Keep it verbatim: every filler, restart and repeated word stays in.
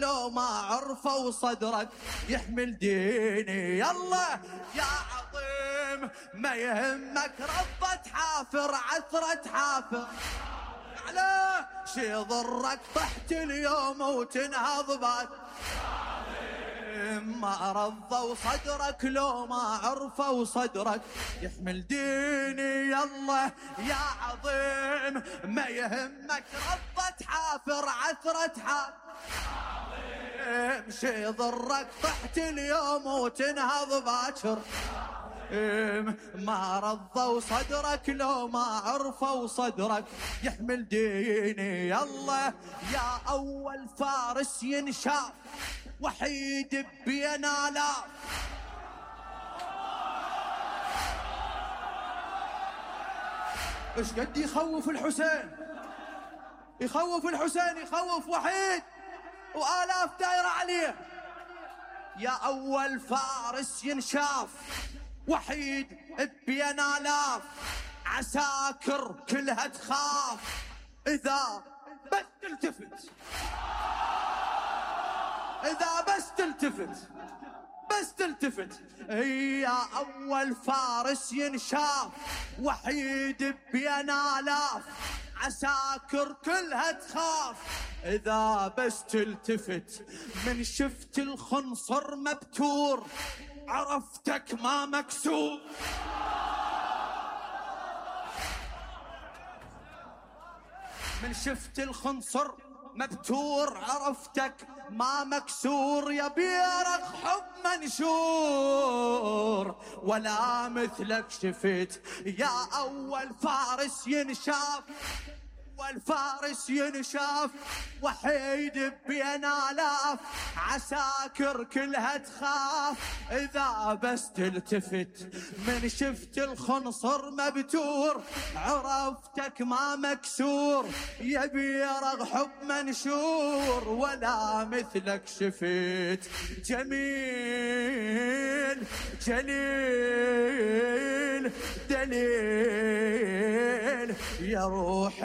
لو ما عرفوا صدرك يحمل ديني. يلا يا عظيم ما يهمك ربة حافر عثرة حافر على شي ضرك طحت اليوم وتنهض بعد ما رضوا صدرك لو ما عرفوا صدرك يحمل ديني. يلا يا عظيم ما يهمك ربة حافر عثرة حافر شي ضرك طحت اليوم وتنهض باكر ما رضوا صدرك لو ما عرفوا صدرك يحمل ديني. يلا يا أول فارس ينشاف وحيد بين آلاف ايش قد يخوف الحسين يخوف الحسين يخوف وحيد وآلاف دايرة عليه. يا أول فارس ينشاف وحيد بين آلاف عساكر كلها تخاف إذا بس تلتفت إذا بس تلتفت بس تلتفت. يا أول فارس ينشاف وحيد بين آلاف عساكر كلها تخاف إذا بس تلتفت. من شفت الخنصر مبتور عرفتك ما مكسور. من شفت الخنصر مبتور عرفتك ما مكسور. يا بيرق حب منشور ولا مثلك شفت. يا أول فارس ينشاف والفارس ينشاف وحيد بين آلاف عساكر كلها تخاف إذا بس تلتفت. من شفت الخنصر مبتور عرفتك ما مكسور. يا بيرغ حب منشور ولا مثلك شفت. جميل جليل دليل يا روح